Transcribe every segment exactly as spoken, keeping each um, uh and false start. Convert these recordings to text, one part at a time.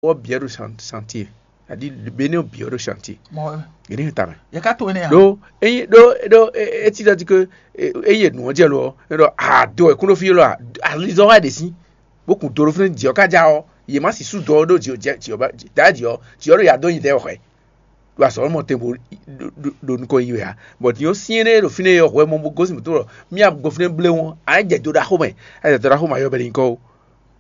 Wɔ biɛ ɖo chantier, adi bene biɛ ɖo chantier. Mɔ, Gɛnɛ ta mɛ. Yɛ ka to ne ya. Ɖo eyi ɖo ɖo eti ɖe di ke eyi nu ɔn jɛ lo ɔ, ɖɔ a do ɛ kún ɖo fi lo a, alizɔn wa ɖe si. Bó kun do ɖo fínɛ diɔ ká ja ɔ, yě má si sú dɔ ɖo diɔ diɔ ba da diɔ diɔ ɖo ya dó nyi dɛ xwɛ. Ɖo azɔ̌ mɔ tɛn bo ɖo nukɔn yi wɛ a. Bɔ diɔ syɛn ɖe ɖo fínɛ yɔ hwɛ mɔ bó gosín mɔtò lɔ, mía gbɔ fínɛ bléwɔn a jɛ do ɖaxó mɛ, a jɛ do ɖaxó mɛ ayɔ bɛ ɖe nyikɔ o.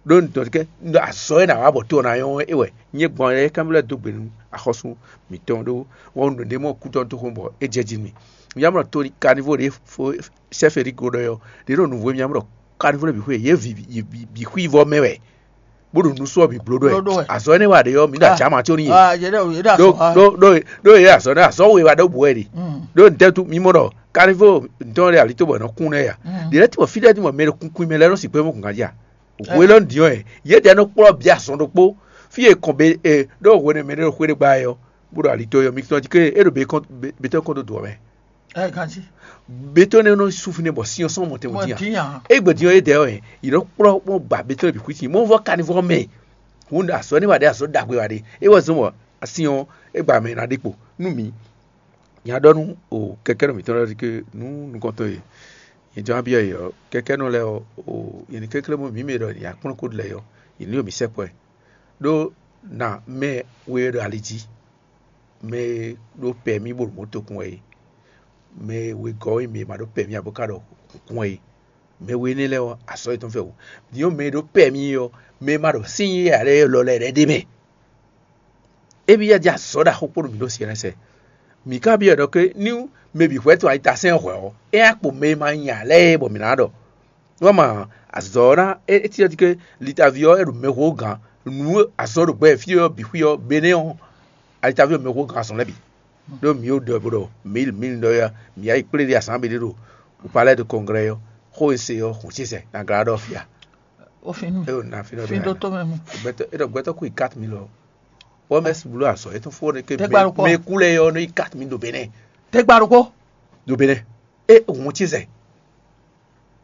Ɖó nǔtɔn kɛ azɔ̌ e nǎ wa bɔ to ɔ́ ná nyɔ́ é wɛ. Nyɛ gbɔn é kán lɛ́ dó gbe nú axɔ́sú mǐtɔn ɖó wɔ̌nu ɖě mɔ kútɔ́ dó xomɛ bɔ é jɛ jí nú mì. Mǐ mlɔ to kanivó ɖě fó sɛ́fɛ̌ ɖi go ɖɔ ɔ́, ɖě nɔ nǔvó mǐ mlɔ kanivó lɛ́ɛ bǐ xwé yě bǐ xwí vɔ mɛ wɛ, bó ɖo nusú ɔ́ bǐ bló ɖɔ ɛ. Azɔ̌ énɛ́ wa ɖě ɔ́, mǐ ɖo ajǎ ma có n'i. Ɖó ɖó ɖó ɖó yě azɔ̌ ɖó azɔ̌ we wa ɖó bǔ wɛ ɖi. Ɖó ntɛ́ mǐ mɔ ɖɔ kanivó ntɔ́ ɖé alitó bɔ è nɔ kún nɛ́ ya. Ɖě lɛ́ɛ tí mɔ fí ɖɛ́ tí mɔ mɛ ɖo kunkun mɛ lɛ́ɛ nɔ́ sixú mɔ gǎn jí a? Hwe élɔ́ ɖiɔ ɛ, yě ɖɛ́ nɔ kplɔ́ bǐ azɔn ɖokpó, fí e kɔn be e ɖó hwenɛ́ mɛ ɖé ɖo xwé ɖé gba ɛ ɔ́, bó ɖo ali tɔn ɔ́, mi tɔn jí ké é ɖo be kɔn be tɔn kɔn dó dǒ ɔ́ mɛ. Ɛ ganjí. Be tɔn nɛ́ nɔ sú fínɛ́ bɔ sin ɔ́ sɔ́ mɔ tɛn mɔ Mɔ dín dín ǎ. Ǎ. Égbé dín ɔ́ é dɛ ɔ́, yě nɔ kplɔ́ mɔ gba be tɔn bǐ xwítin, mɔ vɔ kanivɔ́ mɛ. Hǔn azɔ̌ énɛ́ wa ɖe azɔ̌ ɖagbe wa ɖe. É wɔ zɔ́n bɔ asin ɔ́, é gba mɛ ná ɖe kpo nú mi. Nya ɖɔ nú o kɛkɛ́nɔ mǐtɔn lɛ́ɛ ɖɔ ké nú nukɔntɔn e nyɛ jɔ́n abyɔ́ yě ɔ́, kɛkɛ́nɔ lɛ́ɛ ɔ́, o nyɛ ní kɛnklɛ́n mɔ mǐ mɛ ɖɔ nya kplɔ́n kó lɛ́ɛ ɔ́, yě ní ɖo mǐ sɛkpɔ́ ɛ. Ɖó na mɛ we e ɖo ali jí, mɛ e ɖó pɛmí bó ɖo mɔ̌ tokun wɛ é, mɛ e wegɔ́ nyí mɛ e ma ɖó pɛmí ǎ bó ka ɖɔ hǔnkún wɛ é, mɛ we énɛ́ lɛ́ɛ ɔ́, azɔ̌ yětɔn fɛ wǔ. Din ɔ́, mɛ e ɖó pɛmí ɔ́, mɛ e ma ɖo sín yí ǎ lɛ́ɛ lɔ lɛ́ɛ ɖɛ́ ɖ'é mɛ. Émí ya jɛ azɔ̌ ɖaxó kpó nú mǐ ɖo syɛ́nɛ́sɛ. Mǐ ka byɔ́ ɖɔ ké nú mɛ bǐ hwɛ́ tɔn ayitasɛ́n hwɛ̌ ɔ́, é ná kpo mɛ e ma nya lɛ́ɛ é bɔ mǐ ná ɖɔ. Nú ma azɔ̌ ɔ́ ná é cyɔ́ cí ké litaví ɔ́ é ɖo mɛxó gǎn, nǔ azɔ̌ ɖo gbɛ fí ɔ́ bǐ xwí ɔ́, benɛ́ ɔ́, alitaví ɔ́ mɛxó gǎn azɔ̌ lɛ́ɛ bǐ. Ɖó mǐ ɖɔ bó ɖɔ mǐ mǐ ɖɔ ya mǐ yá yi kplé ɖi asǎn bǐ ɖé ɖo upalɛ́ de kɔnglɛ́ ɔ́, xó e se ɔ́ hǔn ce sɛ nagla ɖɔ fia. Ó fin nú mi. É ɖo na fínɔ Fin ɖó tó mɛ mu. Gbɛtɔ é ɖɔ gbɛtɔ kú yi quatre mille ɔ. Wɔmɛs blu azɔ é tún fó ne ke Tɛgbɛ ɖokpɔ. Mɛ kú lɛ yɔ ní quatre mille ɖo Bénin. Tɛgbɛ ɖokpɔ. Ɖo Bénin. É hùn tí zɛ.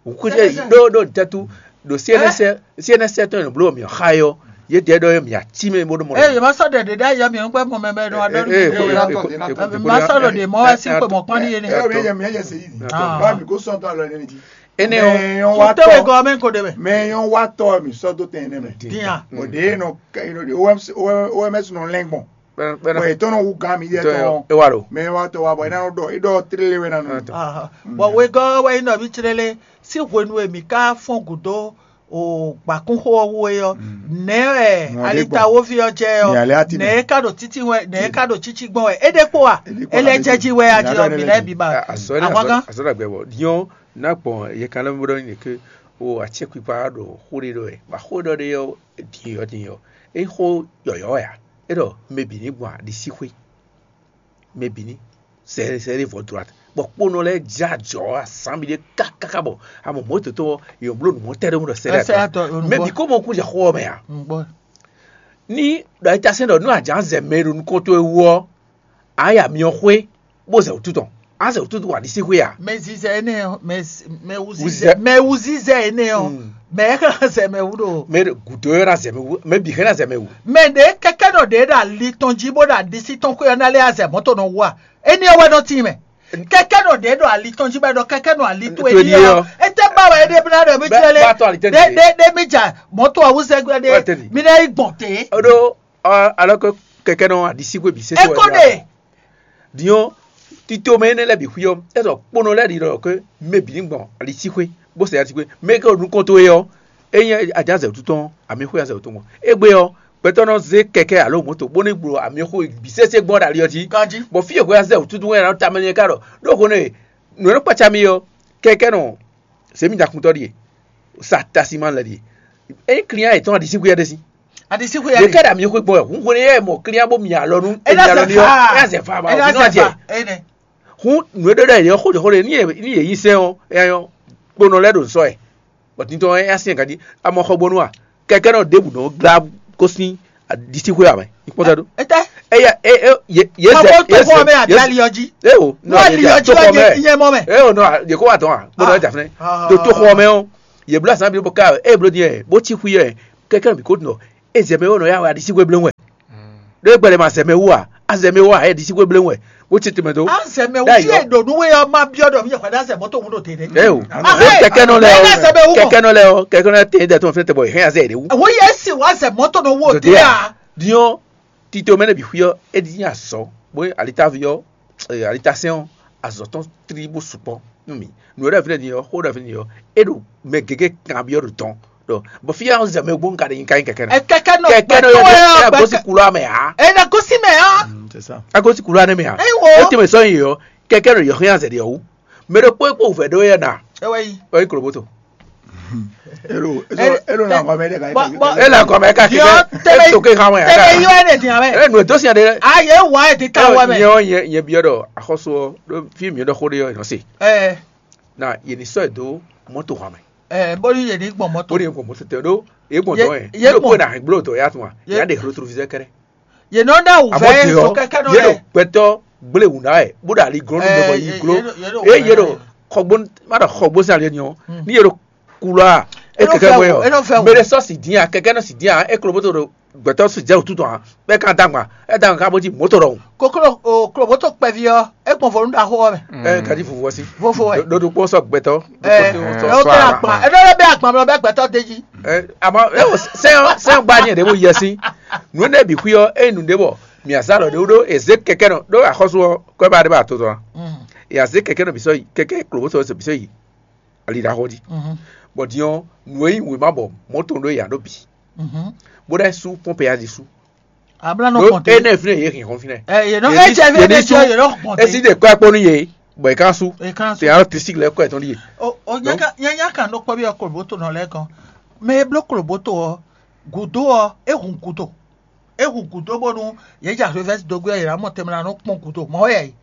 Hùn kú Sɛ zɛ sɛ. Ɖó ɖó ntɛtu ɖo C N S C N S tɔn yɛ bló mi xa yɔ. Yé dɛ ɖɔ yɛ mi ati mɛ bó ɖo mɔ. Eye ma sɔ ɖe ɖe ɖe ayɔ mi ŋgbɛ mɔ mɛ mɛ ɖo adɔ. Ee, ee, ee, ee, ee, Ma sɔ ɖo ɖe mɔ wɛ si kpe mɔ kpɔn ni yé ne. Ɛ ɔ mi yɛ mi yɛ sɛ yi. Ah. Ba mi ko sɔn tɔ alɔ ne ti. Ene o. Mɛ yɔn wa Tute we tɔ. Gɔmɛ ko de mɛ. Mɛ yɔn wa tɔ mi sɔ do tɛn ne mɛ. Dinya. O de nɔ ka ino de O M S O M S nɔ lɛn gbɔn. Bɔ etɔn nɔ wu gan mi yɛ tɔ. E wa lo. Mɛ yɔn wa tɔ wa bɔ ina nɔ dɔ idɔ tere le wɛ na nɔ. Aha. Bɔn wegɔ́ wɛ nyí nɔví clélé sí hwenu e mǐ ka fɔ́n gǔdo o gbǎkúnxó ɔ́ wú é ɔ́, nɛ̌ wɛ Nɔ ɖé alitawoví ɔ́ jɛ ɔ́? Nɛ alɛ ati nɛ. Nɛ̌ ka ɖo títí wɛ nɛ̌ ka ɖo títí gbɔn wɛ? É ɖé kpó wa? É lɛ́ jɛ jí wɛ a jí ɔ́ mǐ lɛ́ bǐ ba. Azɔ̌ ní Ahwan azɔ̌ gán. Azɔ̌ ɖagbe bɔ diɔn. Nakpɔn yɛ kan lɛ́ bó ɖɔ nyi ke o atsɛkpikpa ɖo xó ɖé ɖɔ wɛ. Bɔ xó ɖɔ ɖé ɔ́, din yɔ din yɔ. É xó yɔyɔ wɛ a? É ɖɔ mɛ bǐ ní gbɔn aɖisíxwé. Mɛ bǐ ní sɛ sɛ ɖé vɔ droite. Bɔ kponɔ lɛ́ɛ jɛ ajɔ azǎn mi ɖé kákáká bɔ amɔ mɔ̌ tɔn tɔn yɔ bló nǔ mɔ tɛ́ ɖé mɔ ɖɔ sɛ ɖé Ɛsɛ atɔ. Atɔ, Mɛ bǐ kó mɔ kún jɛ xó ɔ́ mɛ a? Ngbɔ. Ní ɖɔ é tasɛn ɖɔ nú ajǎ zɛ mɛ e ɖo nukɔn towe wú ɔ́, a ya myɔ xwé bó zɛ wǔtu tɔn. A zɛ wǔtu tɔn wa ɖisí xwé a? Mɛ zizɛ énɛ́ ɔ́, mɛ z- mɛ wuzizɛ Wuzizɛ. Mɛ wuzizɛ énɛ́ ɔ́, Mm. Mɛ é xlɛ́ zɛ mɛ wú ɖo. Mɛ gǔdo ɔ́ ná zɛ mɛ wú, mɛ bǐ xlɛ́ ná zɛ mɛ wú. Mɛ ɖě kɛkɛ nɔ ɖě ɖo ali tɔn jí bó ɖo aɖisí tɔn xwé ɔ́ ná lé azɛ mɔ̌ tɔn nɔ wú a? Énɛ́ ɔ́ wɛ nɔ tín mɛ. Kɛkɛ nɔ ɖě ɖo ali tɔn jí bɔ ɖɔ kɛkɛ nɔ ali towe Towe ní ní ɔ́. Ɔ́. Étɛ́ ba wɛ é ɖe bla ɖɔ mí Bɛ- tlɛ lé. Bá tɔn ali tɛn Ɖé ɖé ɖé mí dza mɔ̌ tɔn awúzɛ gbɛ Wɛ tɛn ɖé ɖi. Mí ná yi gbɔn té. Oɖo alors que kɛkɛ nɔ aɖisíxwé bǐ sésé wɛ Ékó ɖe. Diɔ tito mɛ énɛ́ lɛ́ɛ bǐ xwí ɔ́, é sɔ kponɔ lɛ́ɛ ɖi ɖɔ ke mɛ bǐ ní gbɔn aɖisíxwé bó sɛ aɖisíxwé. Mɛ ke ɖo nukɔn towe ɔ́, é nyí ajǎ zɛ wútu tɔn, amǐxwé azɛ wútu gbɔn. Égbé ɔ́, gbɛtɔ́ nɔ zé kɛkɛ alo mɔ̌to bó ní gblɔ amǐxwé bǐ sésé gbɔn ɖo ali ɔ́ jí. Ganjí. Bɔ fí e hwɛ azɛ wútu tɔn wɛ ná tamɛ nyɛ ká ɖɔ ɖó hwenu e nǔ e nɔ kpácá mì ɔ́, kɛkɛ nɔ zě mì ɖakuntɔ ɖíe, sa tasima lɛ ɖíe. Ényí client yětɔn aɖisíxwé ɔ́ ɖe sí. Aɖisíxwé Yě ɔ́ ká ɖe ɖe amǐxwé gbɔn wɛ, hun hwenu yɛ mɔ client bó mi alɔ nú É ná èmi alɔ zɛ ní ɔ́, faa. É ná zɛ fa É ná bɔ zɛ nɔ jɛ. Fa. Énɛ́. Hun nǔ e ɖe ɖɔ yě xó jɔ xó ɖe ní yě ní yé yí sɛn ɔ́, é nyɔ kponɔ lɛ́ɛ ɖo nsɔ ɛ. Bɔ tintɔn ɛ así ɛ gadi amɔ xɔ gbɔnu a kɛkɛ nɔ ɖěbǔ nɔ glá kó sín aɖisíxwé amɛ. Ní kpɔ́n sɛ́ ɖó. Étɛ́. Eya e e ye ye Kɔbɔ zɛ to ye xɔ mɛ zɛ ye adali ɔ́ jí. E o Nú ali ɔ́ jí to wɛ xɔ mɛ. Nye mɔ mɛ. E o nɔ ye ko wa tɔn a kpɔnɔ Ah. Ɛja fɛnɛ Ah. To to xɔ mɛ o ye bla san bi bo ka e blo diɛ bo tsi xwi yɛ kɛkɛ bi ko nɔ E zɛ mɛ wɛ nɔ ya wɛ aɖisíxwé blé wɛ. Ɖó e gbɛlɛ ma zɛ mɛ wú a? A zɛ mɛ wú a? E ɖisíxwé blé wɛ. Wo tsi tɛmɛ do. Azɛ mɛ Ɖe wú ayɔ. Ye ɖo nú we ɔ́ ma byɔ́ ɖɔ mi yɛ hwɛɖe azɛ mɔtò wú ɖo te ɖe. Ɛ o. Ah, Kɛkɛ nɔ lɛ ɛ ɔ. Azɛ mɛ wú mɔ. Kɛkɛ nɔ lɛ ɔ. Kɛkɛ nɔ tɛ dɛ tɔn fɛn tɛ bɔ hɛn azɛ ɖe wú. Wo ye si wa azɛ mɔtò nɔ wú o te a. Diɔ tito mɛ ne bi xuyɔ e di nya sɔ. Bo alitavi ɔ, alita sɛn ɔ, azɔ tɔn tri bo sukpɔ nú mi. Nu ɖe fi ɖe ni ɔ, xó ɖe fi ni ɔ, e ɖo mɛ gege kan byɔ ɖo tɔn. Ɖɔ bɔ fi ya zɛ mɛ gbɔn ka ɖe nyi ka nyi kɛkɛ nɔ. Ɛ kɛkɛ nɔ kɛkɛ nɔ yɔ ɛ gosi kulu amɛ ha. Ɛ na gosi mɛ ha. Mm, c'est ça. A gosi kulu anɛ mɛ ha. Eyi wo. O tɛmɛ sɔn yi yɔ kɛkɛ nɔ yɔ hɛn azɛ de ɔwu. Mɛ ɖe kpó kpó vɛ ɖo yɛ na. Ɛ wɛ yi. Ɔ yi koloboto. Elo elo elo na gɔmɛ de ka. Bɔ bɔ E la kɔmɛ ka kɛkɛ. Diɔ tɛmɛ E to ke kan wɛ. Tɛmɛ yɔ ɛ de diɛ mɛ. E nu to sian de. A ye wa ɛ de ta wɛ mɛ. Nyɛ ɔ nyɛ nyɛ biɔ ɖɔ axɔsu ɔ ɖo fi mi ɖɔ xó ɖe ɔ nɔ se. Ɛ Na ye ni sɔ ɛ dó mɔto hàn mɛ. Ɛ bóni ye ní gbɔn mɔtò. Bóni ye gbɔn mɔtò tɛ ɖó ye gbɔn Ye- dɔn yɛ ye ɖo gbɔn. Kó na hɛn gbló tɔ ya tún wa Ye- ya ɖe rétroviseur kɛrɛ. Ye nɔ ná wù Àmọ́ vɛ tiẹ̀ sɔ ɔ, kɛkɛ nɔ ye ɖo lɛ. Gbɛtɔ gblé wù ná yɛ bó ɖo ali glɔ́n nú Ɛ, mɛ bɔ yi ye- gló. Ye- ye ɖo Eye ye ɖo xɔgbó má ɖo xɔgbó sín ali ni ɔ. Ní ye ɖo kulɔ a e Enɔ kɛkɛ fɛ bɔ wò, yɔ. Enɔ fɛ wò. Mɛ ɖe sɔ si dín a kɛkɛ nɔ si dín a e klo bó to ɖo gbɛtɔ si jɛ wò tutɔ a bɛ kan dagba e dagba ka bó jí mɔtò ɖɔhun. Koklo o kloboto kpɛví ɔ́, é gbɔn vo nú ɖaxó ɔ́ mɛ. Ɛ gadi vuvu ɔsi. Vovo wɛ. Ɖo ɖokpó sɔ gbɛtɔ. Ɛ Ɖokpó sɔ ɛ wotɛ agba. Agba. Ɛ ɖɔ lɛ bɛ agba mlɔ bɛ gbɛtɔ de jí. Ɛ ama ɛ o sɛ sɛ gba nyɛ ɖe bo yɛ si. Nu ne bi xwi ɔ e nu ɖe bɔ mi azalɔ ɖe ɖo eze kɛkɛ nɔ ɖo axɔsu ɔ kɔ ba ɖe ba to tɔn. E aze kɛkɛ nɔ bi sɔ yi kɛkɛ klobo sɔ bi sɔ yi. Ali ɖaxɔ di. Bɔ diɔ nu e yi wema bɔ mɔto ɖo ya ɖo bi. Bo ɖe su pɔnpe ya di su. Abla nɔ Ɖo kɔnte. Ene fine ye hin hɔn fine. Ɛ ye nɔ Ye ɛ ni- jɛ ye fine ni jɛ su- ye nɔ kɔnte. Esi de kɔ kpɔnu ye bɔ e kan su. E kan su. Te alo tisi lɛ kɔ etɔn di ye. O o nyaka nyanya kan nɔ kpɔ bi ɔ kloboto nɔ lɛ kɔn. Mɛ e bló kloboto ɔ gudo ɔ e hun gudo. E hun gudo bónú ye ja revɛsi dogbe ɔ ye na mɔ tɛmɛ na nɔ kpɔn gudo mɔ yɛ yi.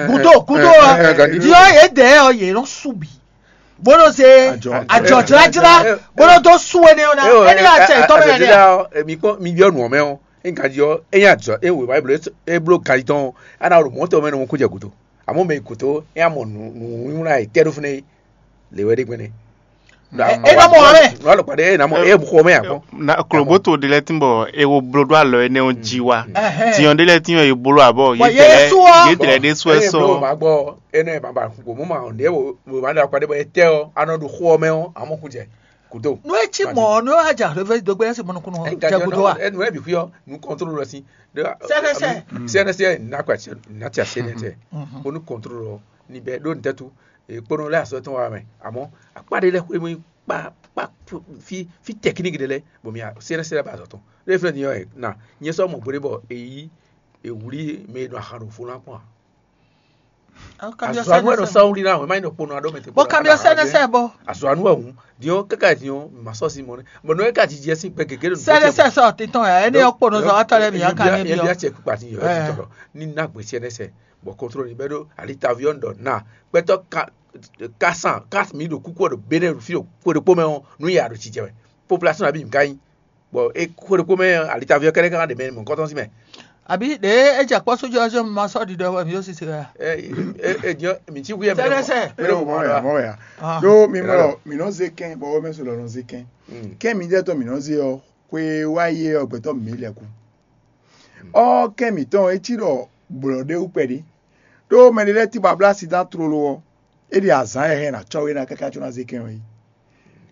Gudo gudo ɔ diɔ ye dɛ ɔ ye nɔ su bi. Bó nɔ se Ajɔ. Ajɔ jlájlá bó nɔ dó sú énɛ́ ɔ́ ná. Énɛ́ wá tɛ tɔ́ mɛ nɛ́. Emi kpɔn mi byɔ́ nǔ ɔ́ mɛ ɔ́, é ganjí ɔ́, é nyí ajɔ é wěwá é bló é bló ganjí tɔn ɔ́, é ná ɖo mɔ̌ tɔn mɛ nɔ mɔ kú jɛ gǔdo. Àmọ́ mɛ gǔdo é ná mɔ nǔ nǔ wínwlá e tɛ́ ɖó fúnɛ́ é lě wɛ ɖé gbɛ́nɛ́. É nɔ mɔ ɔ́ mɛ. Nǔ alɔkpa ɖé é ná mɔ é xɔ mɛ akpɔ́n. Na kloboto ɖé lɛ́ɛ tín bɔ é wo bló ɖó alɔ énɛ́ ɔ́ jí wá. Tiɔn ɖé lɛ́ɛ tín ɔ́, é bló abɔ Bɔ yě Yésu ɔ́. Yě tlɛ ɖé sú ɛ Eye sɔ. Blo ma gbɔ ene ma ba ko mo ma nde wo wo ma da kwa de bo ete o ano do xo me o amo ku je kudo. Nu e ci mɔ nu e wa ja reve dogbe esi mɔnu kunu Enga jɛ gudo wa. Enu e bi fi o nu control si. Sɛnɛsɛ. Sɛnɛsɛ na kwa na tia sɛnɛsɛ. Onu control ni bɛ do ntetu e kpono le aso tɔn wa me amo akpa de le xwe mu kpa kpa fi fi technique de le bo mi sɛnɛsɛ le ba zɔtɔn. Le fle ni yo na nyɛ sɔ mo gbere bɔ eyi ewuli mɛ e nɔ ahan ɖo fo ná kpɔn a. Azɔanu wɛ nɔ sawuli ná wɛ má nyí nɔ kpɔnɔ aɖɔ mɛ tɛ. Bɔ kamiɔ sɛnɛ sɛ bɔ. Azɔanu wɛ hun diɔ kaka diɔ ma sɔ si mɔ ne bɔ nɔ ka jijɛ si gbɛ gege ɖo. Sɛnɛ sɛ sɔ titɔn ya ɛni yɔ kpɔnɔ sɔ atɔ lɛ mi ya ka mi biɔ. Yɛ biɔ cɛ kpa ti yɔ titɔ lɔ ni na gbɛ sɛnɛ sɛ bɔ kɔntrɔl ni bɛ ɖo ali taviɔ ɖɔ na gbɛtɔ ka ka san ka mi ɖo kuku ɖo bene fi ɖo kpo ɖo kpo mɛ ɔ nu ya ɖo jijɛ mɛ population abi mi ka nyi. Bɔ e xwe ɖokpó mɛ alitaviɔ kɛɖɛ kankan ɖe mɛ mɔ̌kɔtɔn sín mɛ. Àbí ɖě é jɛ kpɔ́ sójú ɔ́ ma sɔ́ ɖiɖɔ wɛ mǐ ó sisɛ wɛ. Ɛ ɛ ɛ diɔ mi ti hu yɛ mɛ. Sɛnɛsɛ. Mɛ ɖo mɔ ya mɔ ya. Ah. Ɖó mi mɔ mi nɔ zé kɛn bɔ wɛ mɛ sɔ lɔ nɔ zé kɛn. Kɛn mi jɛ tɔ mi nɔ zé ɔ xwe wá yé ɔ gbɛtɔ mi lɛ kú. Ɔ kɛn mi tɔn etí ɖɔ gblɔ ɖé wú kpɛɖé. Ɖó mɛ ɖé lɛ́ɛ tí ba blá asi dán tlolo ɔ́, é ɖi azǎn e hɛn ná cɔ́ we ná káká có ná zé kɛn ɔ́ é.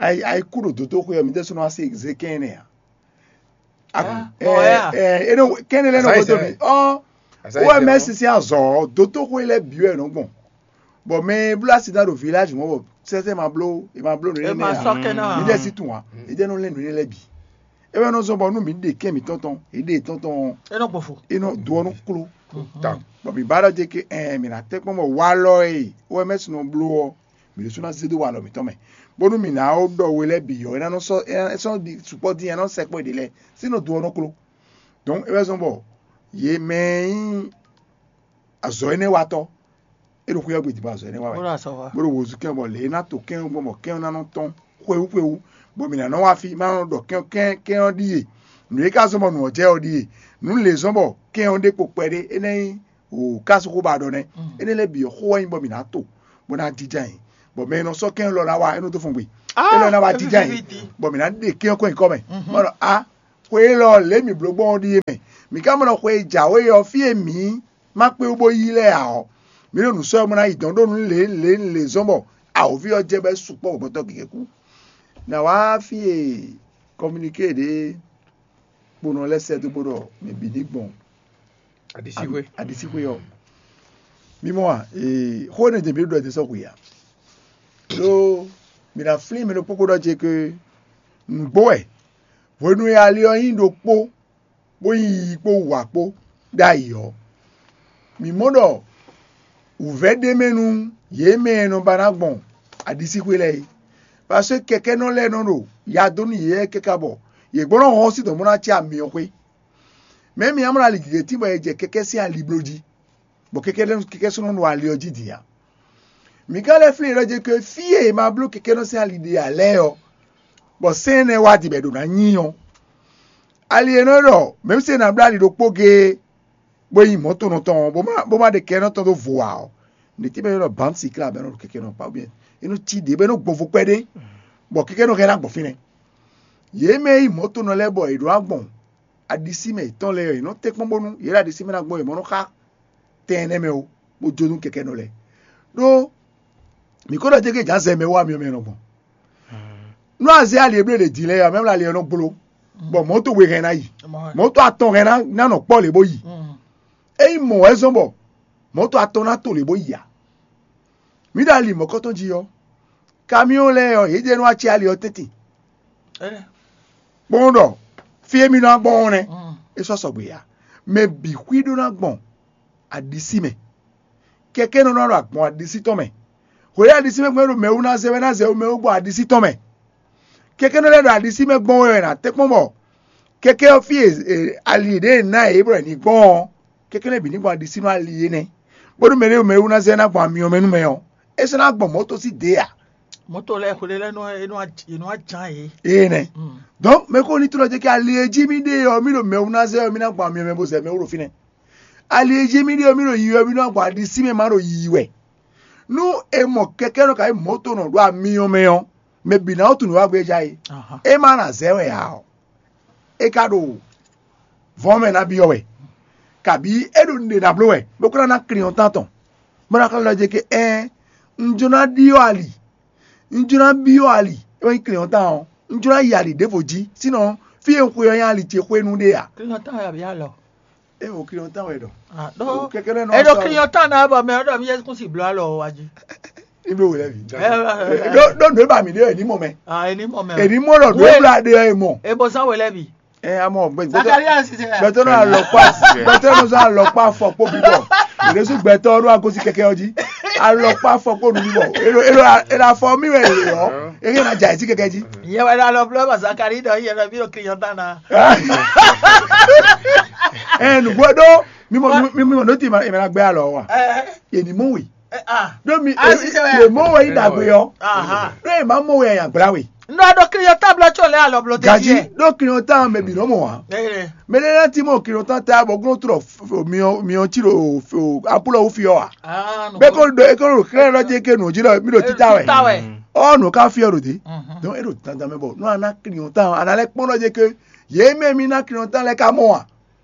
Ayi ayi kú ɖo dotóxwé ɔ́, mi ɖésú nɔ wá se zé kɛn énɛ́ ǎ. Kɛn énɛ́ lɛ́ɛ nɔ Azǎn gbɔdɔ mi ɔ Azǎn wɛ mɛ sisi azɔ ɔ dotóxwé lɛ́ɛ bǐ wɛ nɔ gbɔn. Bɔ mɛ e bló asi dán ɖo viláji mɔ̌ bɔ sɛsɛ ma bló e ma bló nǔ énɛ́ ǎ. Mi ɖésí tún ǎ. Mi ɖésú nɔ lɛ́ nǔ énɛ́ lɛ́ɛ bǐ. É wɛ nɔ zɔ́n bɔ nú mǐ ɖe kɛ́n mǐtɔn tɔn, yě ɖe yětɔn tɔn ɔ́, É nɔ gbɔn fo. É nɔ do ɔ́ nɔ kló. Bɔ mǐ ba ɖɔ jɛ ke ɛɛ mǐ ná tɛ́ kpɔ́n bɔ walɔ e wɛ mɛ sin nɔ bló ɔ́, mǐ ɖésú ná zé dó walɔ mǐtɔn mɛ, bónú mǐ ná ó ɖɔ we lɛ́ɛ bǐ ɔ́, é ná nɔ sɔ́ é ná sɔ́ ɖi sukpɔ́ dín é ná nɔ sɛkpɔ́ ɖě lɛ́ɛ sín nɔ do ɔ́ nɔ kló. Dɔ̌n é wɛ zɔ́n bɔ yě mɛ e nyí azɔ̌ énɛ́ watɔ́, é ɖo xwé ɔ́ gbe din bɔ azɔ̌ énɛ́ wa wɛ. Bó ɖo azɔ̌ wa. Bó ɖo wǒzú kɛn bɔ lě e ná to kɛn ɔ́ gbɔn bɔ kɛn ɔ́ ná nɔ tɔ́n xwewú xwewú, bɔ mǐ ná nɔ wá fí má nɔ ɖɔ kɛn kɛn kɛn ɔ́ ɖíe. Nǔ e ka zɔ́n bɔ nǔ ɔ́ jɛ ɔ́ ɖíe. Nǔ lě zɔ́n bɔ kɛn ɔ́ ɖe kpo kpɛɖé é ná nyí wǒ kásu xó ba ɖɔ nɛ́. Énɛ́ lɛ́ɛ bǐ ɔ́ xó wɛ nyí bɔ mǐ ná to, bó ná jínjɔ́n ayǐ, bɔ mɛ e nɔ sɔ́ kɛn élɔ́ ná wá é nɔ dó fɔn gbe. É lɔ́ ná wá jínjɔ́n ayǐ, bɔ mǐ ná ɖe kɛn ɔ́ kɔn nyi kɔ́ mɛ. Má ɖɔ á Xwe élɔ́ lě mǐ bló gbɔn ɔ́ ɖíe mɛ. Mǐ ka mɔ ɖɔ xwe e jǎwe ɔ́, fí e mǐ ma kpé wú bó yí lɛ́ɛ ǎ ɔ́, mǐ ɖo nǔ sɔ́ ɔ́ mɔ ná yi dɔ̌n ɖó nǔ lě lě lě zɔ́n bɔ awǒvi ɔ́ jɛ bɔ é sukpɔ́ bɔ gbɔtɔ́ gěgé kú. Nǎ wá fí e kɔminiké ɖě kponɔ lɛ́ɛ sɛ́ dó bó ɖɔ mɛ bǐ ní gbɔn Aɖisíxwé. Aɖisíxwé ɔ́. Mi mɔ a? Ee, xó énɛ́ jɛ mǐ ɖo ɖɔ sɔ́ xwe ǎ. Ɖó mǐ ná flín mɛ ɖokpó kpó ɖɔ ce ke nǔgbó wɛ hwenu e ali ɔ́ nyí ɖokpó bó nyí yiyi kpó wǔwá kpó ɖ'ayǐ ɔ́, mǐ mɔ ɖɔ wǔvɛ́ ɖ'é mɛ nú yě mɛ e nɔ ba ná gbɔn aɖisíxwé lɛ́ɛ é. Paseke kɛkɛ́nɔ lɛ́ɛ nɔ ɖo ya dó nú yě káká bɔ yě gbɔn nɔ hɔn sín dɔ̌n bó ná cí amyɔ xwé. Mɛ̌ mi ná mlɔ́ ali gěgé tín bɔ è jɛ kɛkɛ́ sín ali bló jí, bɔ kɛkɛ́ lɛ́ɛ kɛkɛ́ sɔ́ nɔ ɖo ali ɔ́ jí din ǎ? Mǐ ka lɛ́ flín yě ɖɔ jɛ ke fí e è ma bló kɛkɛ́nɔ sín ali ɖe ǎ lɛ́ɛ ɔ́, bɔ sɛ́n énɛ́ wá din bɔ è ɖǒ ná nyi ɔ́, ali e nɔ ɖɔ mɛ̌ se ná bló ali ɖokpó géé bó nyí mɔ̌tonɔ tɔn ɔ́, bó má bó má ɖe kɛkɛ́nɔ tɔn dó vo ǎ ɔ́, nǔɖé tɛ́ mɛ é nɔ bǎn sikla bɔ é nɔ ɖo kɛkɛ́nɔ kpá bɔ é nɔ cí ɖě bɔ é nɔ gbɔn vo kpɛɖé, bɔ kɛkɛ́nɔ hɛn ná gbɔn fínɛ́. Yě mɛ e nyí mɔ̌tonɔ lɛ́ɛ bɔ è ɖǒ ná gbɔn aɖisí mɛ yětɔn lɛ́ɛ ɔ́, yě nɔ tɛ́nkpɔ́n bónú yě ɖo aɖisí mɛ ná gbɔn yě mɔ nɔ xá tɛn énɛ́ mɛ ó, bó jó nú kɛkɛ́nɔ lɛ́ɛ. Ɖó mǐ ko ɖɔ jɛ́gɛ́ jǎ zɛ mɛ wá myɔ mɛ nɔ gbɔn. Nú azé ali e bló ɖě din lɛ́ɛ ɔ́, mɛ̌ ali ɔ́ nɔ gbló, bɔ mɔ̌to we hɛn ná yi, mɔ̌to atɔn hɛn ná nɔ kpɔ́ lě bó yi. Ényí mɔ̌ wɛ zɔ́n bɔ mɔ̌to atɔn ná to lě bó yi ǎ, mǐ ɖo ali mɔ̌kɔtɔn jí ɔ́, kamiɔ́n lɛ́ɛ ɔ́, yě jɛ nú acɛ ali ɔ́ tɛ́ntin kpɔ́n ɖɔ fí e mì nɔ gbɔn ɔ́ nɛ́, é sɔ́ sɔgbe ǎ. Mɛ bǐ xwí ɖó ná gbɔn aɖisí mɛ. Kɛkɛ́ nɔ ná ɖo agbɔn aɖisí tɔn mɛ. Hwě aɖisí mɛ gbɔn é ɖo mɛ wú ná zɛ wɛ ná zɛ wú mɛ wú gbɔn aɖisí tɔn mɛ. Kɛkɛ́ nɔ lɛ́ ɖo aɖisí mɛ gbɔn wɛ ná tɛ́nkpɔ́n bɔ kɛkɛ́ ɔ́ fí e ali ɖě ná yě bɔ è ní gbɔn ɔ́, kɛkɛ́ nɔ bǐ ní gbɔn aɖisí nú ali énɛ́. Bónú mɛ ɖé mɛ wú ná zɛ ná gbɔn amyɔ mɛ nú mɛ ɔ́, é sɔ́ ná gbɔn mɔ̌ tɔn sín dě ǎ. Mɔ̌to lɛ́ɛ xwle lɛ́ɛ nɔ é nɔ é nɔ wá ján yě. Énɛ́. Donc mɛ ko ní tlɔ́ jɛ kí ali e jí mì ɖe ɔ́, mì ɖo mɛ wú ná zɛ ɔ́, mì ná gbɔn amyɔ mɛ bó zɛ mɛ wú ɖo fínɛ́. Ali e jí mì ɖe ɔ́, mì ɖo yiyi wɛ, mì ná gbɔn aɖisí mɛ má ɖo yiyi wɛ. Nú è mɔ kɛkɛ́ nɔ ka nyí mɔ̌to nɔ ɖo amyɔ mɛ ɔ́, mɛ bǐ ná wú tunwun wá gbéjá é. É má ná zɛ wɛ ǎ ɔ́, é ka ɖo vɔ̌ mɛ ná byɔ́ wɛ, kabǐ é ɖo nǔɖé ná bló wɛ, bó ka ná ná klin ɔ́ tán tɔn, bó ná xlɛ́ ɖɔ jɛ ke ɛ́n un jló ná ɖyɔ́ ali, un jló ná byɔ́ ali, é wɛ nyí klin ɔ́ tán ɔ́, un jló ná yi ali ɖěvo jí, sínɔ fí e un xwe ɔ́ nyí ali ce xwénu ɖé ǎ. Klin ɔ́ tán wɛ abǐ alɔ. É o klin ɔ́ tán wɛ ɖɔ. Ɖó Kɛkɛ́ lɛ́ɛ nɔ é ɖó sɔ́- klin ɔ́ tán ná bɔ mɛ ɔ́ ɖɔ mí yɛ kún si bló alɔ wá jí. Ibi wo lɛ bi. Ɛ, ɛ, ɛ, ɛ. Ɖó ɖó nǔ e ba mi ɖe wɛ ní mɔ mɛ. Ah, é ní mɔ mɛ. Èní mɔ ɖɔ nǔ e bla ɖe wɛ mɔ. É bó sán wɛ lɛ́ bì. Ɛ amɔ gbɛ gbɛtɔ Zakaria sisɛ. Gbɛtɔ nɔ alɔkpa gbɛtɔ nɔ sɔn alɔkpa fɔ kpo bibɔ. Ìrẹsù gbɛtɔ ɖo agosi kɛkɛ ɔji. Alɔkpa fɔ kpo nu bibɔ. Elo elo elo afɔ mi wɛ le yɔ. Eye na dza eti kɛkɛ ji. Yɛ wɛ ɖo alɔ blɔ ma Zakari ɖɔ yɛ ɖɔ bí ɖo klin ɔ́ tán ná. Ɛ nugbo ɖo mi mɔ mi mi mɔ n'o ti ma eme na gbɛ alɔ wa. Ɛ Yɛ ni mɔ we. ɛ ah. Ɖo mi Ah, si, sɛ wɛ. yɛ mɔ we yi dagbe yɔ. Aha. Ɖo yɛ ma mɔ we ya gbla we. Ŋdɔ ɖo klin ɔ́ tán blɔ tso lɛ alɔ blɔ Gaji tɛ́. ɖo kiri ɔn tán mɛ bi nɔ mɔ wa. Ɛ Mɛ ɖe na ti mɔ kiri ɔn tán ta bɔ glo trɔ miɔ miɔ ti ɖo apulɔ wo fi ɔ wa. Ah, no. Bɛ ko do e ko do xlɛ lɔ je ke nu ji lɔ mi ɖo tita wɛ. Tita wɛ. Ɔ nu ka fi ɔ ɖo de. Mhm. Donc e ɖo dandan mɛ bɔ nu ana kiri ɔn tán ana lɛ kpɔn lɔ je ke ye mɛ mi na kiri ɔn tán lɛ ka mɔ wa.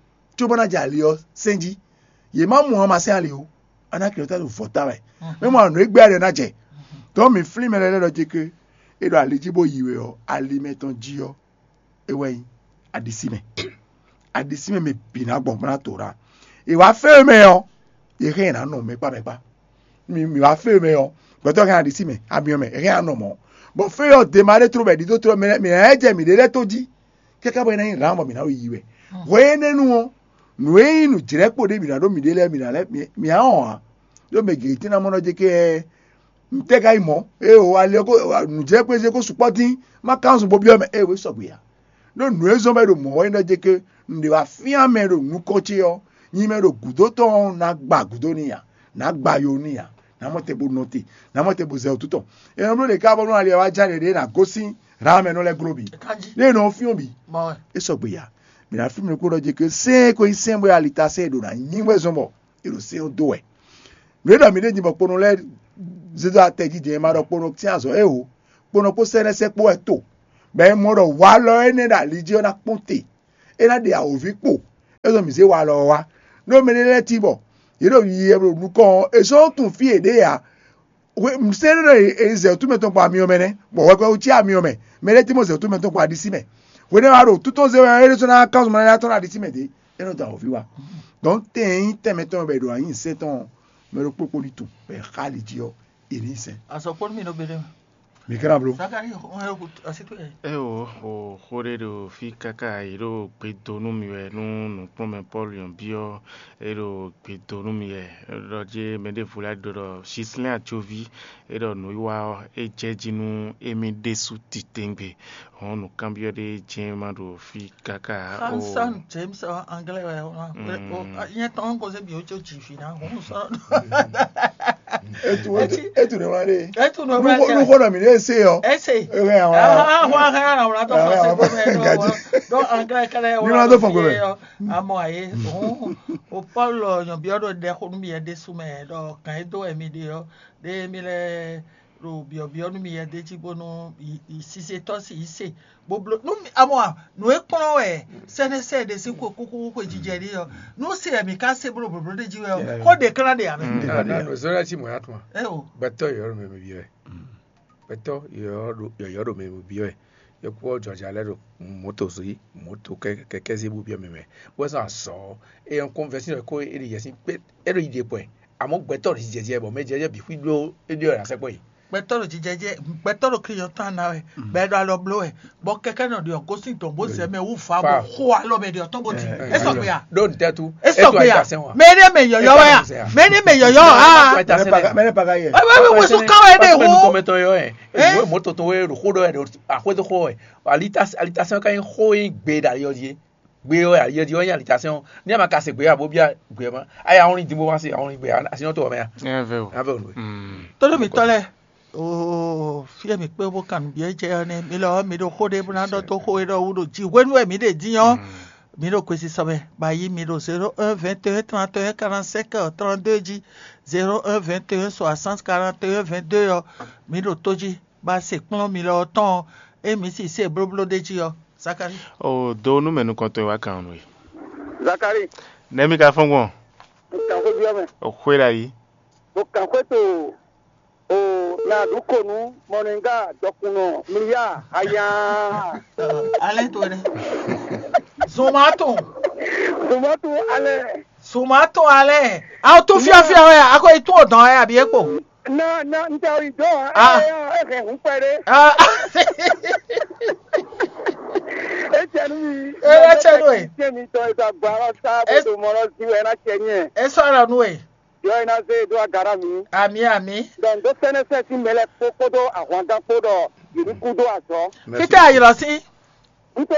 Tso bɔ na dza ali ɔ sɛn ji. Ye ma mɔ wa ma sɛn ali o. Ana kiri ɔn tán ɖo vɔ ta wɛ. Mɛ mɔ anu egbe ali ɔ na jɛ. Donc mi flin mɛ lɛ lɛ lɔ je ke e ɖo ali ji bo yi wɛ ɔ ali mɛ tɔn ji ɔ e wɛ nyi aɖisí mɛ. Aɖisí mɛ mɛ bǐ ná gbɔn bó ná to ɖa. È wá fé mɛ ɔ, è hɛn ná nɔ mɛ kpá mɛ kpá. Mi mi wá fé mɛ ɔ, gbɛtɔ hɛn aɖisí mɛ, amiɔ mɛ, è hɛn ná nɔ mɔ. Bɔ fé ɔ dema ɖé tró bɛ ɖi dó tró mɛ mɛ ɛ jɛ mǐ ɖé lɛ́ tó jí. Kɛkɛ bɔ é ná nyí rǎn bɔ mǐ ná yi wɛ. Hwɛ énɛ́ nu ɔ́, nǔ e nyí nǔjlɛ́kpo ɖé mǐ ná ɖó mǐɖé lɛ́ɛ mǐ ná lɛ́ mǐ á wɔn ǎ. Ɖó mɛ gěgé tín ná mɔ nɔ jɛ kɛ ntɛ́ ka nyí mɔ̌? Ée o, ali ɔ́ ko nǔjlɛ́kpézé ko sukpɔ́ dín, má ka nɔ zun bo byɔ́ mɛ, ée o, é sɔgbe ǎ. Ɖó nǔ e zɔ́n bɔ é ɖo mɔ̌ wɛ nyí ɖɔ jɛ ke nǔɖé wá fyán mɛ ɖo nukɔn ce ɔ́, nyi mɛ ɖo gǔdo tɔn ɔ́, ná gba gǔdo n'i ǎ, ná gba yo n'i ǎ, ná mɔ te bo nɔ te, ná mɔ te bo zɛ wǔtu tɔn. È nɔ bló ɖě ká bɔ nú ali ɔ́ wá ján ɖě ɖě ná gosín Raham ɛnɔ lɛ́ɛ gló bǐ. Kanji. Ɖé nɔ fyɔ́n bǐ. Mɔ. É sɔgbe ya. Mǐ ná flín mì ɖokpó ɖɔ jɛ ke sɛ́n ko nyí sɛ́n bɔ ali ta sɛ́n è ɖo ná nyí wɛ zɔ́n bɔ è ɖo sɛ́n ɔ́ dó wɛ. Nǔ e ɖɔ mǐ ɖe din bɔ kponɔ lɛ́ɛ zé dó atɛ jí din é ma ɖɔ kponɔ sín azɔ̌ é o. Kponɔ kpó sɛ́nɛ́sɛ́ kpó wɛ to. Bɔ è mɔ ɖɔ walɔ énɛ́ ɖo ali jí ɔ́ ná kpɔ́n te. é ná ɖe awǒvi kpo, é zɔ́n mǐ zé wa alɔ ɔ́ wá. Nú mɛ ɖé lɛ́ɛ tín bɔ yě ɖo yiyi wɛ bó ɖo nukɔn ɔ́, è sɔ́ tunwun fí yě ɖe ǎ. Hwe sɛ́n ɖé ɖɔ è zɛ wǔtú mɛtɔn kpɔ amyɔ mɛ nɛ́, bɔ hwɛkpɛ́ wú cí amyɔ mɛ. Mɛ ɖé tín bɔ zɛ wǔtú mɛtɔn kpɔ aɖisí mɛ. Hwenɛ́ wá ɖo tútɔn zé wɛ é ɖésú ná kán zɔn ná tɔ́n ɖo aɖisí mɛ dě, é nɔ dɔn awǒvi wá. Dɔn tɛn nyí tɛn mɛtɔn bɔ è ɖo anyǐ sɛ́n tɔn ɔ́, mɛ ɖokpó kpó ní tunwun bɔ è xá ali jí ɔ́, è nǐ sɛn. Azɔkpɔ́nú mì nɔ be ɖé mɛ. Mǐ ka ná bló. Zakari, on est au- à cette heure. Eo o xó ɖé ɖo fí káká yě ɖo gbe dó nú mi wɛ nú nǔkplɔ́nmɛ Pɔ́lu nyɔ̌ byɔ́ é ɖo gbe dó nú mi wɛ. Ɖɔ jí mɛ ɖěvo lɛ́ɛ ɖɔ ɖɔ Sislɛ́n Ajoví é ɖɔ nǔwiwa ɔ́ é jɛ jí nú émí ɖésú titewungbe. Hɔn nǔkanbyɔ́ ɖé jɛ́n ma ɖo fí káká o. Hanson James ɔ anglais wɛ o. Nyɛ tɔn ko se bi o tso dzi fi na hɔn sɔ. Etu etu ne wla ɖe. Etu ne wla ɖe. Nuxɔ nɔ mi ɖe se yɔ. Ese. Ewe awla. Ahwa hã awla tɔ fɔ se ko mɛ ɖo. Ɖo anglais kɛlɛ wla. Ni wla do fɔ ko mɛ. Amɔ aye. O Paul nyɔbiɔ ɖo ɖɛ xo nú mi yɛ ɖésú mɛ ɖɔ kan e dó wɛ mi ɖe ɔ ɖe mi lɛ ɖo biɔbiɔ nú mi yɛ ɖe jí bónú sisetɔ si yi se bó bló nú amɔ nǔ e kplɔ́n wɛ sɛnɛsɛ ɖe sín xwe kúkú xwe jijɛ ɖe ɔ nú se wɛ mi ka se bló blóbló ɖe jí wɛ ɔ xó ɖe klán ɖe ame. Nanu zɔlɛ ti mɔ ya tuma. Eo. Gbɛtɔ yɔyɔ ɖo mɛ mi bi wɛ. Gbɛtɔ yɔyɔ ɖo mɛ mi bi wɛ. Yɔkpɔ jɔja lɛ ɖo moto zi moto kɛkɛ zi bu bi mɛ mɛ. Wɛ sɔ azɔ e yɔn kɔnvɛsi ko e ɖi yɛsi kpe e ɖo yi ɖe kpɛ. Àmọ́ gbɛtɔ ɖo jijɛ jɛ bɔ mɛ jɛ jɛ bǐ xwí ɖó é ɖó ɔ́ sɛkpɔ yi. Gbɛtɔ ɖo jijɛ jɛ gbɛtɔ ɖo kiyɔ tɔn ana wɛ bɛɛ ɖo alɔ bló wɛ bɔ kɛkɛ nɔ ɖiɔ gosin tɔn bó zɛ mɛ wú fa bó xo alɔ mɛ ɖiɔ tɔn bó ti é sɔgbe ya. Ɖó ntɛ tu. É sɔgbe ya. Mɛ ɖé mɛ yɔyɔ wɛ ya. Mɛ ɖé mɛ yɔyɔ aa. Mɛ ne paga yɛ. Ɛbɛ bɛ wosu kan wɛ ɖe wo. Kɔmɛtɔ yɔ yɛ. Ewu mɔ tɔtɔ wɛ ɖo xó ɖɔ yɛ ɖo axwédo xó wɛ. Alitasɛn ka nyí xó yín gbe ɖo ayɔ yé. Gbe ɔ́ ya yɛdi ɔ́ nyí alitasɛn ɔ́ ní a ma ka se gbe abo bia gbe ɔ́ ma aya ɔ́ ní din bó ma se ɔ́ ní gbe asi ɔ́ to ɔ́ mɛ ya. Ɛ vɛ o. Avɛ o nue. Tónú mi tɔ́ lɛ́ɛ, oo, fí e mǐ kpé bó kan nǔ byɔ́ jɛ ɔ́ nɛ́, mi lɔ ɔ́, mi ɖo xó ɖé bó ná ɖɔ dó xó e ɖɔ wú ɖo jí hwenu e mǐ ɖe dín ɔ́, mi ɖo kwesisɔ mɛ, bɔ ayi mi ɖo zéro un vingt et un trente et un quarante cinq trente deux jí, zéro un vingt et un soixante quarante et un vingt deux ɔ́, mi ɖo tó jí. Ba se kplɔ́n mi lɔ ɔ́ tɔn ɔ́, ée mi si se blóbló ɖ'é jí ɔ́, Zakalíi. O do nú mɛ nukɔntɔn e wá kan nú we. Zakalíi. Nɛ̌ mi ka fɔ́n gbɔn? Un kan xwé byɔ́ mɛ. O xwé ɖo ayǐ. Bo kan xwé to o mɛ aɖǔkonu mɔnɛngá dɔkunnɔ mliya aya. Alɛ to ɖe. Zomatu. Zomatu alɛ. Zomatu alɛ. Aw to fiafia wɛ a ko yi tún o dɔn wɛ abi e kpo. Na na n tɛ o yi dɔn. Ah. Ɛ ɛ hɛn hun pɛ ɖe. Ah. E cɛ nu mi. E wɛ cɛ nu e. Cɛ mi tɔ e tɔ agba lɔ sa bo to mɔ lɔ si wɛ na cɛ nyɛ. E sɔ lɔ nu e. Yɔ e na zé e dó aga na mi. Ami ami. Donc dó sɛnɛ sɛ si mɛ lɛ kpó kpódó ahwangan kpó ɖɔ yě ní kú dó azɔ. Fítɛ ayilɔ sí. N to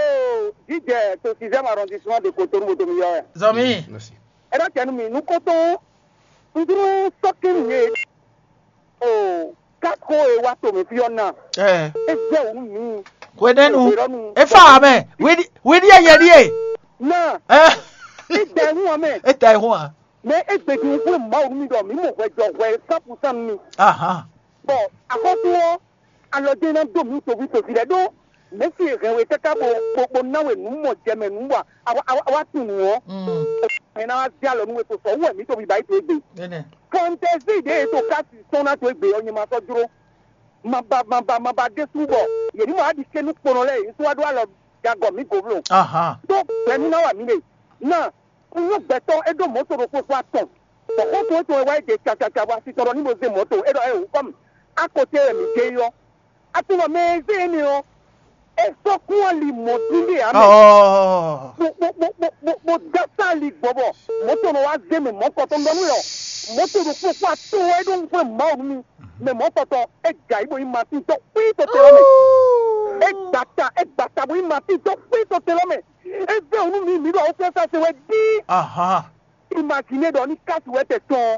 jíjɛ to sixième arrondissement de Cotonou mo domi yɔ wɛ. Zɔmi. Ɛ ɖɔ cɛ nu mi nu kótó n dúró sɔkí mi ye. O kako e wa to mi fi ɔ́ na. Ɛ. E zɛ wǔ mi. Hwenɛnu. Hwenɛnu. Efa amɛ. Widi widi eyɛ di ye. Na. Ɛ. E da ehun amɛ. E da ehun a. Mɛ e gbeɖu xwé Mawu nú mi ɖɔ mǐ mɔ hwɛ jɔ hwɛ cent pour cent nú mi. Ahan. Bɔ axɔ́sú ɔ́, alɔ jɛ́n ná dó mǐ toví toví lɛ́ɛ ɖó Mɛ̌si e hɛn we káká bó bó bó ná we nǔ mɔ jɛ mɛ nǔ bɔ a wá a wá tunwun ɔ́, Mm. Hɛn ná wá zé alɔ nú we to sɔ wú wɛ mǐ to biba yi to égbé. Nɛnɛ. Fantɛzi ɖě e to kási sɔ́n ná to égbé ɔ́, nyɛ ma sɔ́ jló. Maba maba maba ɖésú bɔ yě ní mɔ aɖi kɛ́nú kponɔ lɛ́ɛ yě sɔ́ wá ɖó alɔ jagɔ mǐ gǒbló. Ahan. Tó gbɛ̌nú ná wa mǐ ɖe. Ná un nyɔ́ gbɛtɔ́ é ɖó mɔ̌to ɖokpó xó atɔn. Bɔ xó tɔn é tɔn wɛ wá é ɖe cacaca bɔ asi tɔn ɖɔ ní mo zé mɔ̌to é ɖɔ é wǔ kɔ́ mì. Á ko té wɛ mǐ jɛ é ɔ́. Atunɔ mɛ e zé énɛ́ ɔ́, é sɔ́ kún ali mɔ̌ dín ɖe ǎ mɛ. Ɔɔ. Bó bó bó bó bó bó dá sá ali gbɔ bɔ mɔ̌to nɔ wá zé mɛ mɔ̌kɔtɔn ɖɔ nú ɛ ɔ́. Mɔ̌to ɖokpó kpó atɔn wɛ é ɖó nukúnmɛ Mawu nú mi. Mɛ mɔ̌kɔtɔn é jɛ ayǐ bó nyí Matín tɔn kpí tɔtɛn lɔ mɛ. É gbata é gbata bó nyí Matín tɔn kpí tɔtɛn lɔ mɛ. É vɛ́ wǔ nú mi mǐ ɖo awúfɛ́nsa se wɛ dín. Ahan. Imagine ɖɔ ní kási wɛ tɛ tɔn.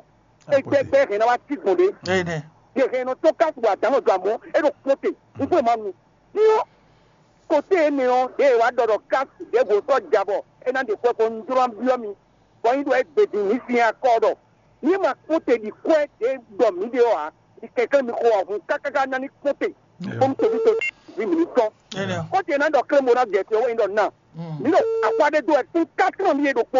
Égbɛgbɛ hɛn ná wá cí gbɔn ɖé. Ene. Yɛ hɛn nɔ tɔn kási wɛ adǎn nɔ do amɔ é ɖo kpɔ́n te. N kúrò ma nu. Ní ɔ́, kote énɛ́ ɔ́, ɖě e wá ɖɔ ɖɔ kási ɖěvo sɔ́ ja bɔ é ná ɖe xwɛ ko un jló ná byɔ́ mi. Bɔ nyi ɖɔ é gbe din mǐ sin akɔ ɖɔ. Ní ma kpɔ́n te ɖi kwɛ́ ɖě ɖɔ mǐ ɖe ɔ́ ǎ. Ní kɛnklɛ́n mi xo ahun kákáká ná ní kpɔ́n te. Bó mi toví to vi mǐ ní tɔn. Ene. Kɔ́te ná ɖɔ klɛ́n bo ná jɛ te ɔ́ wɛ nyí ɖɔ ná. Mi ɖo axwa ɖé dó wɛ tún quatre ans mi e ɖokpó.